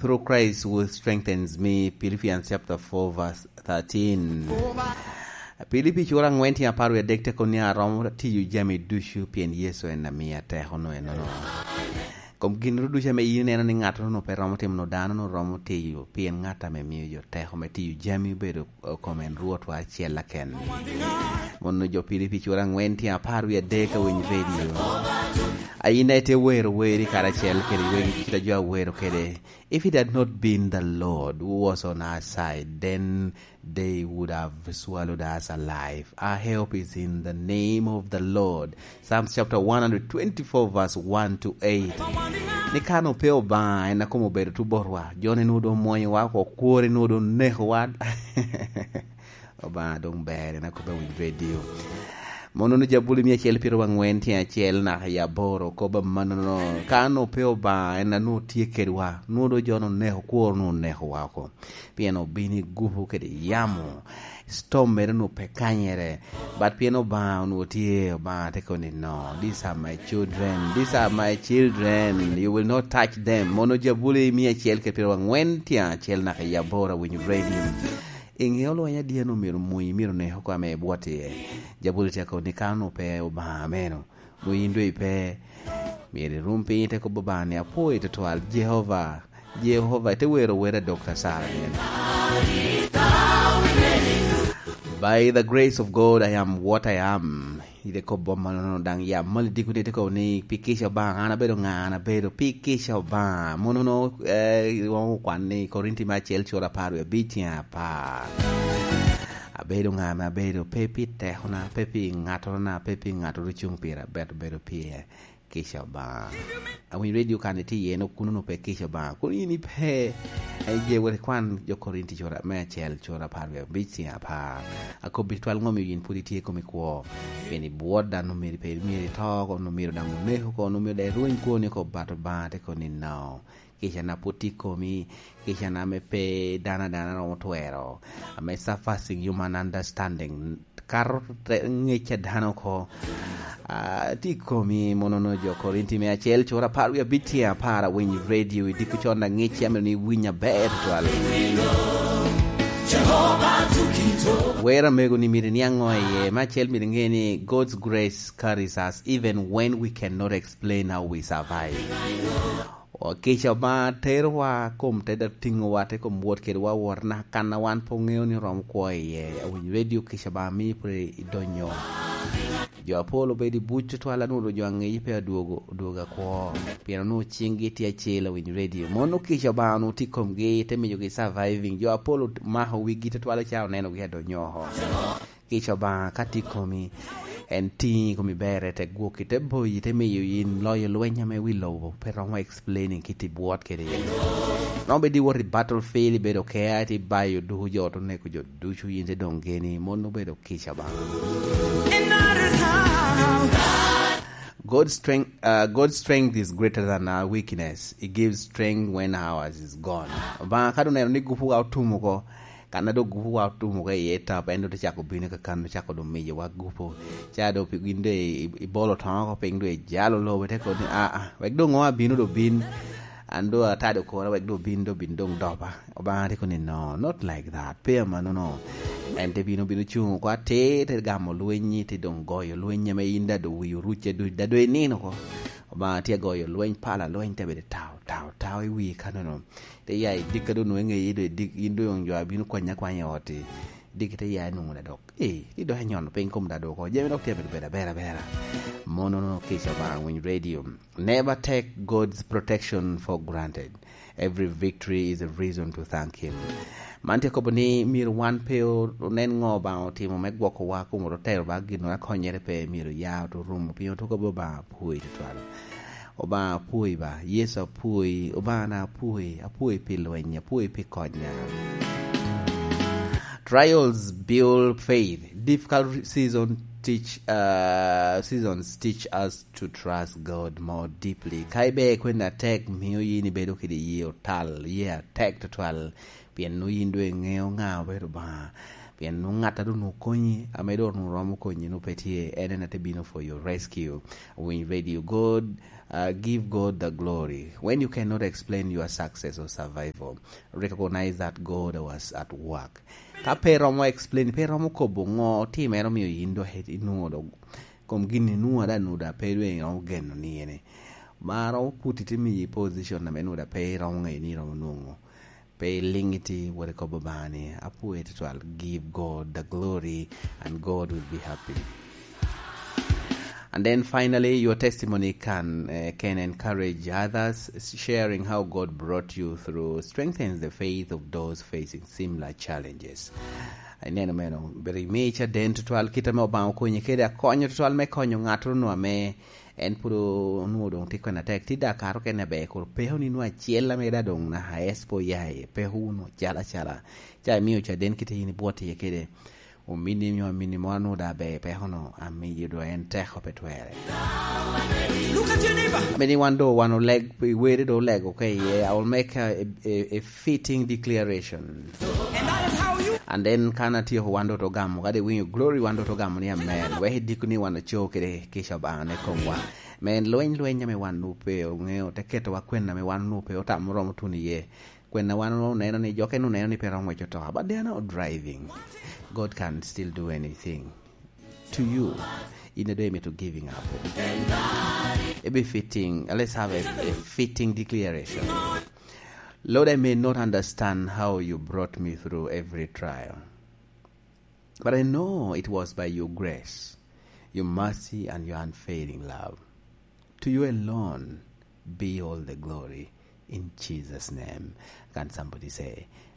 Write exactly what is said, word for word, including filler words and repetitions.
through Christ who strengthens me, Philippians chapter four verse thirteen. Pilipi cura angwen tye apar wie adek te kono ni, "Aromo tiyo jami ducu pien Yecu en amia teko no enono." Kom gin ru ducu ame in ineno ni ŋat no pe romo timo no, dano no romo tiyo pien ŋat ame mio jo teko me tiyo jami obedo, eh, kom en Rwotwa acel aken. Mono jo Pilipi cura angwen tye apar wie adek a winy redio. Aina ite wero weri karacel kede wegi kit a jo awero kede. If it had not been the Lord who was on our side, then they would have swallowed us alive. Our help is in the name of the Lord. Psalms chapter one hundred twenty-four verse one to eight. Ni kan ope Obaŋa en a kom obedo tubotwa, joni nwodo omwonyowa oko, kwori nwodo onekowa. Obaŋa doŋ ber, en akobo i winy redio. Mono no Jabuli mia acel pyero angwen tye acel naka i aboro, kobo amannono. Kan ope Obaŋa en a nwoŋo tye kedwa, nwodo jo oneko, kworo nwoŋo onekowa oko. Pien obino i gupu kede yamo, storm mere onwoŋo pe kanyere. But pien Obaŋa onwoŋo tye, Obaŋa te kono ni, "No, these are my children, these are my children, you will not touch them." Mono Jabuli mia acel kede pyero angwen tye acel naka i aboro a winy redio. Iŋeo lweny adi anu myero mony, myero ne oko ame ibwot iye? Jabuli te kono ni, "Kan ope Obaŋa meno, nwoŋo in doŋ ipe." Myero irum piny, ite kobo Obaŋa ni, "Apwoyi tutwal, Jehovah, Jehovah," ite wero wer a Dokta Sara ni, "By the grace of God, I am what I am." Ite kobo mannono daŋ ya mal dikoni, ite kobo ni, "Pi kica Obaŋa, an abedo ŋa? An abedo pi kica Obaŋa." Mono no, eh, iromo kwan ni Korinti me acel cura apar wie abic tye apar. "Abedo ŋa ame abedo? Pe pi tekona, pe pi ŋattona, pe pi ŋattoro cuŋ pira, but obedo pi kica Obaŋa." Awinyo redio kan itye iye, no kuno no pe kica Obaŋa. Kun in ipe, eh, je wot ikwan jo Korinti cura me acel, cura apar wie abic tye apar. Akobbi twal ŋo omio yin pwod itye i kom ikwo? Pien ibwot dano, myero pe, myero ito oko, nwoŋo myero daŋ onek oko, nwoŋo myero daŋ irweny kwoni oko, but Obaŋa te kono ni, "No. Kicana pwod tye i komi, kicana ame pe dano adana romo twero, ame surpassing human understanding, kato te-, ŋec a dano oko, ah, tye i komi." Mono no jo Korinti me acel, cura apar wie abic tye apar, awinyo redio i diko con aŋec, amito ni iwiny aber tutwal. Wer amego ni myero iniaŋ ŋo iye? Me acel myero iŋe ni God's grace carries us even when we cannot explain how we survive. O, kica Obaŋa terowa kom te da tiŋowa, te kom wot kedwa wot naka kan a wan pe oŋeo ni romo kwo iye. Awinyo redio, kica Obaŋa mio pwod idonyo. Jo apol obedo i buc tutwal, anwoŋo jo aŋeyi pe adwogo, odwogo akwo. Pien onwoŋo ciŋgi tye acel, awinyo redio. Mono kica Obaŋa onwoŋo tye i komgi, te miyogi surviving. Jo apol ot-, mako wigi tutwal, ca onenogi adonyo oko. Kica Obaŋa ka tye i komi, en tiŋi i komi berre, te gwokki, te boyi, te miyo yin loyo lweny ame wi lobo pe romo explaining kit ibwot kede iye. Romo bedo iwot i battlefield, ibedo kea, te bayo duku jo, te neko jo ducu, yin te doŋ geni, mon obedo kica Obaŋa. And that is how God strength, uh, God's strength is greater than our weakness. He gives strength when ours is gone. Obaŋa ka doŋ oneno ni gupuwa otum oko, kan a doŋ gupuwa otum oko iye tap, en doŋ te cako bino ka kan, ocako doŋ miyowa gupu. Ca doŋ pi-, gin doŋ i-, i-, ibolo toŋo oko piny, doŋ ijalo lobo, ite kobo ni, "Aa, wek doŋ ŋo abino doŋ bin, an doŋ atado kora, wek doŋ bin, doŋ bin doŋ dopa." Obaŋa te kobo ni, "No, not like that. Pe amannono." En te bino, bino cuŋ oko atir, te gamo lweny, te doŋ goyo lweny ame in daŋ doŋ wii orucce duc, daŋ doŋ inino oko. Obaŋa tye agoyo lweny, pala lweny te bedo tao, tao, tao i wii kanono. Te ya i dikka doŋ nwoŋo iŋeyi doŋ i dik, in doŋ jo a bino kwanyi akwanya i ot-ti. Dikki te ya i nwoŋo daŋ dok. Ee, ti dok inyono piny kom daŋ dok oko. Jami dok tye abedo bedo abera abera. Mono no kica Obaŋa, winy redio. Never take God's protection for granted. Every victory is a reason to thank Him. Man tye kobo ni myero wan pe o-, onen ŋo Obaŋa otimo me gwokowa, kun otero ba gin akonyere pe, myero ya oto rumo, pien oto kobo Obaŋa apwoyi tutwal. Obaŋa apwoyi ba, Yecu apwoyi, Obaŋa na apwoyi, apwoyi pi lweny, apwoyi pi konya. Trials build faith. Difficult season teach, uh, seasons teach us to trust God more deeply. Ka iber kwena atek, mio yin ibedo kede yie otal, yie atek tutwal, pien nwoŋo yin doŋ iŋeo ŋa obedo Obaŋa. Pien nwoŋo ŋat a doŋ okonyi, ame doŋ romo konyi, nwoŋo pe tye, en en a te bino for your rescue. Winy radio, God, uh, give God the glory. When you cannot explain your success or survival, recognize that God was at work. Ka pe romo explain, pe romo kobo ŋo otimere omio yin dok i-, inwoŋo dok kom gin inwoŋo ada nwoŋo da pe doŋ iromo geno ni ene. Ma romo puti te miyi position ame nwoŋo da pe iromo ŋeyo ni iromo nwoŋo. Pe iliŋ iti, wot ikobo Obaŋa ni, "Apwoyi tutwal, give God the glory and God will be happy." And then finally, your testimony can, eh, can encourage others, sharing how God brought you through strengthens the faith of those facing similar challenges. Ineno meno, bero imi caden tutwal kit ame Obaŋa okonyi kede akonyo tutwal me konyo ŋattoro nu ame en pwod onwoŋo doŋ tye kwena tek, tye dakato kene aber, kor peko ni nwoŋo acel ame da doŋ naka es pe oya iye, peko wunu acala acala. Ca imio caden kite yin ibwot iye kede ominni nyo aminni moro nwoŋo da aber, peko no amiyo do en teko pe twere. Look at your neighbor. Amini wan do, wan oleg, i weri do olego ka iye, I will make a, a, a fitting declaration. And that is how you And then kan atyeko wan do to gamo, kadi winyo glory wan do to gamo ni amen. Wek idiko ni wan oco kede kica Obaŋa ne komwa. Men lweny, lweny ame wan nu pe oŋeo, te ketowa kwena ame wan nu pe otamo romo tuno iye. Kwena wan oneno ni jo kene oneno ni pe romo ngweco otoka, but they are not driving. God can still do anything to you. In a day me to giving up. A be fitting, let's have a, a fitting declaration. Lord, I may not understand how you brought me through every trial, but I know it was by your grace, your mercy, and your unfailing love. To you alone be all the glory. In Jesus' name. Can somebody say,